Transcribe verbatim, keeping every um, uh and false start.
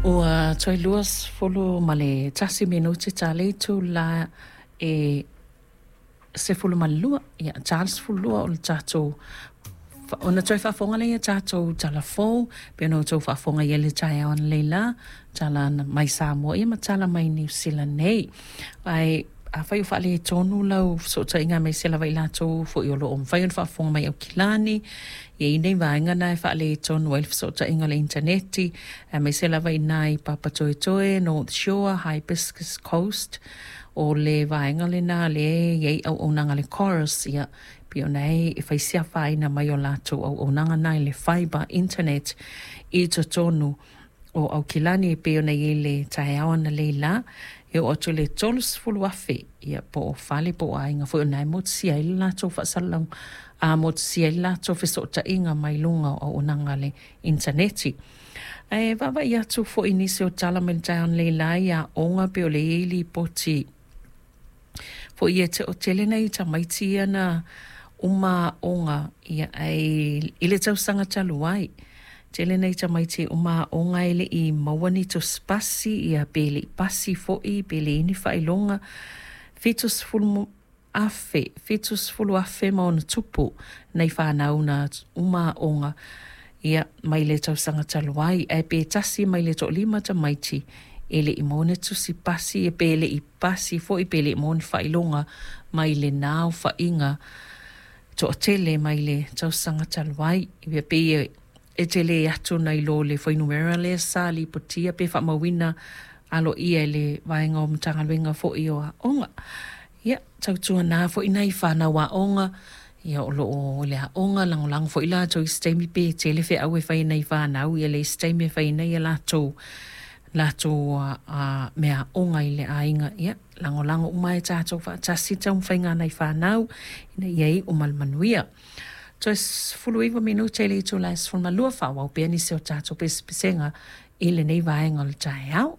Ua toe luasefulu ma le tasi minute ta le itula e sefulu ma le lua, ia, ta le sefulu lua o le tatou ona toe faafofoga lea i a tatou tala fou pei ona outou faafofoga i ai i le taeao analeila, tala mai Samoa ia ma tala mai Niu Sila nei. Ae afai o faaletonu lau fesootaiga aemaise lava i latou foi o lo o mafai ona faafofoga mai Aukilani, e i ai nei vaega na e faaletonu ai le fesootaiga o le initaneti, aemaise lava i ina i Papatoetoe, North Shore, Hibiscus Coast, o le vaega lena lea e i ai auaunaga a le Chorus, ia, pei ona e fai si afaina mai o latou auaunaga na i le fiber internet i totonu o Aukilani e pei ona i ai le taeao analeila, e oo atu i le tolu sefulu afe, ia, po o fale po o aiga foi o lena e motusia ai le latou faasalalau, a motusia ai le latou fesootaiga mai luga o auaunaga a le initaneti. Ae vaavaai atu foi i nisi o tala mai le taeao analeila i aoga pei o lea e i ai lipoti foi e toatele nai tamaiti ia na uma aoga, ia, ae i le tausaga talu ai, tele nai tamaiti uma aoga e le i maua ni tusi pasi, ia, pe le i pasi foi, pe leai ni faailoga. Fitu sefulu afe, fitu sefulu afe ma ona tupu nai fanau na uma aoga, ia, mai le tausaga talu ai, ae pe tasi mai le toalima tamaiti e le i maua ni tusi pasi, pe le i pasi foi, pe le i maua ni faailoga mai lena aofaiga toatele mai le tausaga talu ai. Ia pei e tele atu nai lo le fuainumera lea sa lipotia pe faamauina aloaia e le vaega o Matagaluega foi o Aoga. Ia, tautuana foi nai fanau aoga, ia, o lo o i le aoga, lagolago foi latou i se taimi pe tele feau e fai e nai fanau, ia leai se taimi e fai ai nai a latou latou meaaoga i le aiga. Ia, lagolago uma e tatou faatasi taumafaiga a nai fanau ina ia iu ma le manuia. Toe sefulu iva minute i le itula e sefulu ma lua, faaauau pea nisi o tatou pesepesega i lenei vaega o le taeao.